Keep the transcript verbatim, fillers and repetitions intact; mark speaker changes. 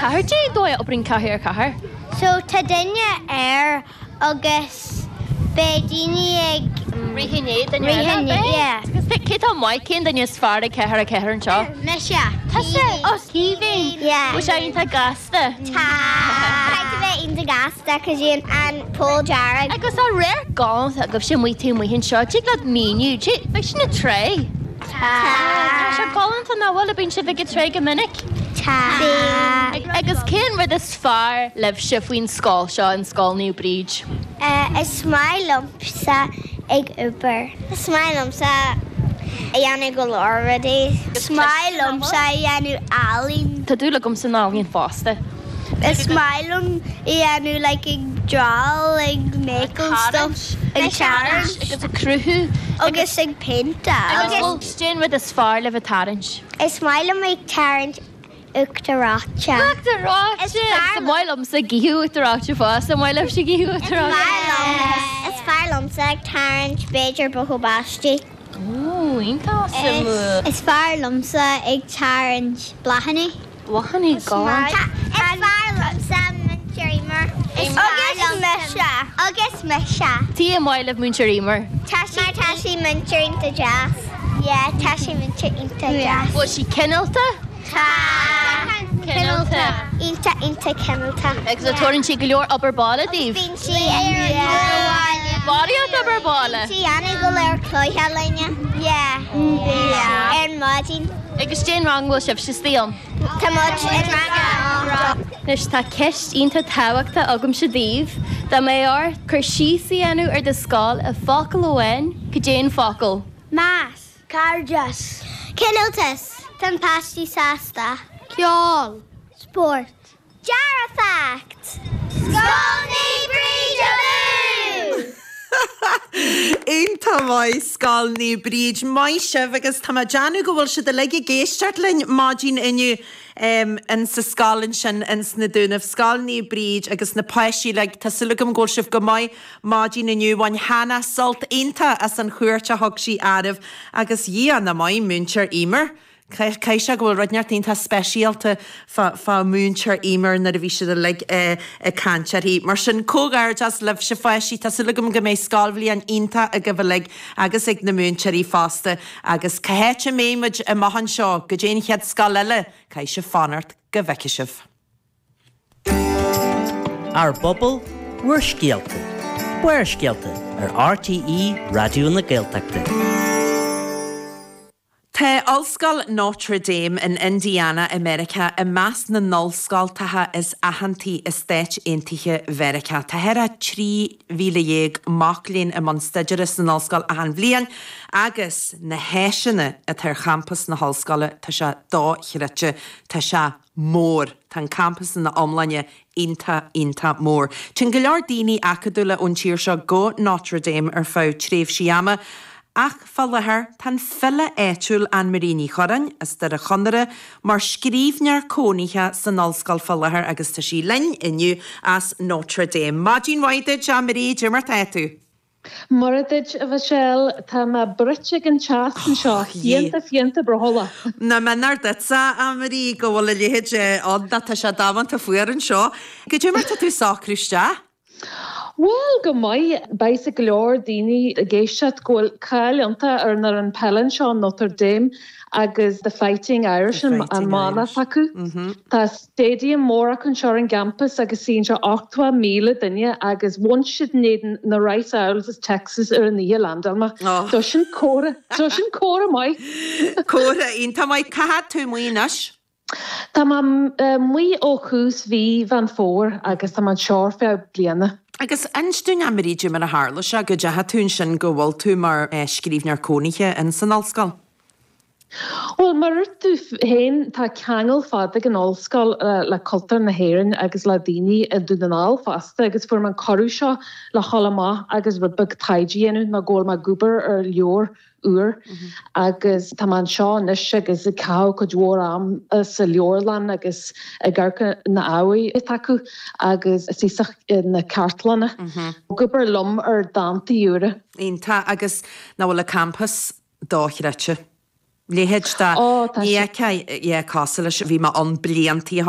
Speaker 1: ceathair. Cén dóigh a oibríonn ceathair ar ceathair?
Speaker 2: So tá duine air agus beidh daoine ag
Speaker 1: Rith i ndiaidh duine
Speaker 2: Rith i
Speaker 1: eile,
Speaker 2: ndiaidh,
Speaker 1: beidh?
Speaker 2: yeah.
Speaker 1: Agus cé tá maith, cén duine is fearr ag ceathair ar ceathair anseo?
Speaker 2: Mise.
Speaker 1: Tusa? Ó, Caoimhín.
Speaker 2: Yeah.
Speaker 1: Bhfuil sé iontach gasta?
Speaker 2: Tá. Caithfidh tú bheith iontach gasta cos bíonn an pole dearg.
Speaker 1: Agus tá radharc galánta agaibhse amuigh taobh amuigh anseo. Tig leat míniú, beidh sin ag trá.
Speaker 2: Tá.
Speaker 1: Tá sé galánta nach bhfuil, bíonn sibh ag an trá go minic?
Speaker 2: Tá.
Speaker 1: Agus cén rud is fearr libhse faoin scoil seo, an Scoil Naomh Bríd?
Speaker 2: Is maith liomsa ag obair. Is maith liomsa a dhéanamh go leor rudaí. Is maith liomsa a dhéanamh ealaín.
Speaker 1: Tá dúil agam san ealaín fosta.
Speaker 2: Is maith liom a dhéanamh like ag draw, ag make stuff, ag tarraingt
Speaker 1: agus ag cruthú
Speaker 2: agus ag péinteáil.
Speaker 1: Agus cén rud is fearr libh ag tarraingt?
Speaker 2: Is maith liom ag tarraingt uachtar reoite.
Speaker 1: Uachtar reoite!
Speaker 2: Is fearr
Speaker 1: Is maith liomsa ag ithe uachtar reoite fosta, maith libhse ag ithe uachtar reoite?
Speaker 2: Is fearr liomsa ag tarraingt b'fhéidir buachaill báistí.
Speaker 1: Ó, iontach suimiúil.
Speaker 2: Is fearr liomsa ag tarraingt bláthanna.
Speaker 1: Bláthanna galánta.
Speaker 2: Is fearr liomsa Múinteoir Eimear. Agus mise. Agus mise.
Speaker 1: Cad é maith libh Múinteoir Eimear.
Speaker 2: Tá sí tá sí múinteoir iontach deas. Yeah, tá sí múinteoir iontach deas.
Speaker 1: Bhfuil sí cineálta?
Speaker 2: Tá.
Speaker 1: Cineálta.
Speaker 2: Iontach iontach cineálta.
Speaker 1: Agus an dtabharann sí go leor obair baile daoibh?
Speaker 2: Bíonn sí ar
Speaker 1: Barraíocht obair baile.
Speaker 2: Sí anna go leor cluiche linne. Yeah. Yeah. Ar maidin.
Speaker 1: Agus cén rang bhfuil sibh istigh ann.
Speaker 2: Tá muid i rang a
Speaker 1: Anois tá ceist iontach tábhachtach agamsa daoibh, dá mbeadh ort cur síos a dhéanamh ar do scoil i bhfocal amháin, cad é an focal.
Speaker 2: Meas. Cairdeas. Cineáltas. Tá na páistí sásta. Ceol. Spórt. Dearfacht. Scoil Naomh Bríd abú!
Speaker 3: Iontach maith Scoil Naomh Bríd maith sibh agus tá mé ag déanamh go bhfuil siad uilig ag éisteacht linn maidin inniu um, in sa scoil ansin in sna Dúnaibh Scoil Naomh Bríd agus na páistí le tá súil agam go bhfuil sibh go maith maidin inniu bhain Hannah sult iontach as an chuairt a thug sí oraibh agus dhí na maith Múinteoir Eimear. Caithfidh sé go bhfuil rud inteacht iontach speisialta fá Mhúinteoir Eimear nuair a bhí siad uilig ag caint uirthi. Mar sin comhghairdeas libhse a pháistí tá súil agam go mbeidh scoilbhliain iontach agaibh uilig agus ag na múinteoirí fosta agus cá háit a mbeidh muid amach anseo go dtí an chéad scoil eile, caithfidh sibh fanacht go bhfeicfidh sibh.
Speaker 4: Ár bpobal bhur scéalta. Barrscéalta ar RTÉ Raidió na Gaeltachta.
Speaker 3: Tá Ollscoil Notre Dame in Indiana i Meiriceá i measc na n-ollscoltacha is aitheantaí i Stáit Aontaithe Mheiriceá. Tá thart ar trí mhíle dhéag mac léinn i mbun staidéir san ollscoil achan bhliain agus na háiseanna atá ar champas na hollscoile tá sé dochreidte tá sé mór Tá an campas ina iomláine iontach iontach mór. Téann go leor daoine acadúla ón tír seo go Notre Dame ar feadh tréimhsí ama, Ach fá láthair tá an file áitiúil Anne-Marie Ní Churráin as Doire Chonaire mar scríbhneoir cónaithe san ollscoil fá láthair agus tá sí linn inniu as Notre Dame. Maidin mhaith duit Anne-Marie, cad é mar tá tú.
Speaker 5: Mora duit a Mhichelle tá mé bruite ag an teas anseo fiánta fiánta brothallach.
Speaker 3: Na menar duitsa Anne-Marie go bhfuil a leithéid ann tá sé damanta fuar anseo. Cad é mar tá tú ag socrú isteach?
Speaker 5: Well go maith beidh go leor daoine ag éisteacht go bhfuil cáil iontach ar an an peil anseo Notre Dame agus the Fighting Irish an mana acu. Tá stadium mór acu anseo ar an gcampus agus suíonn sé ochtó míle duine agus bhain siad na Rice Owls as Texas ar an oíche landáil. Tá sin córa Tá sin córa maith.
Speaker 3: Córa iontach maith cá fhad tú amuigh anois?
Speaker 5: Tá mé amuigh ó thús mhí Mheán Fómhair agus tá mé anseo ar feadh bliana.
Speaker 3: Agus inis dúinn Anne-Marie cad é mar a tharla sé go dteachaigh tú ansin go bhfuil tú mar scríbhneoir cónaithe in san ollscoil.
Speaker 5: Well mar tú féin tá ceangal fada ag an ollscoil le cultúr na hÉireann agus le daoine i Dún na nGall fosta agus fuair mé an cuireadh seo le dhul amach agus rud beag taighde a dhéanamh mar go bhfuil mé ag obair ar leabhar úr agus tá mé anseo anois agus ag caitheamh cuid mhór am sa leabharlann agus ag amharc na hábhair acu agus is na cartlanna. Ag obair liom ar dántaí úra.
Speaker 3: Iontach agus nach bhfuil an campus dochreidte. Leithéid de ní cosúil leis bhí mé ann blianta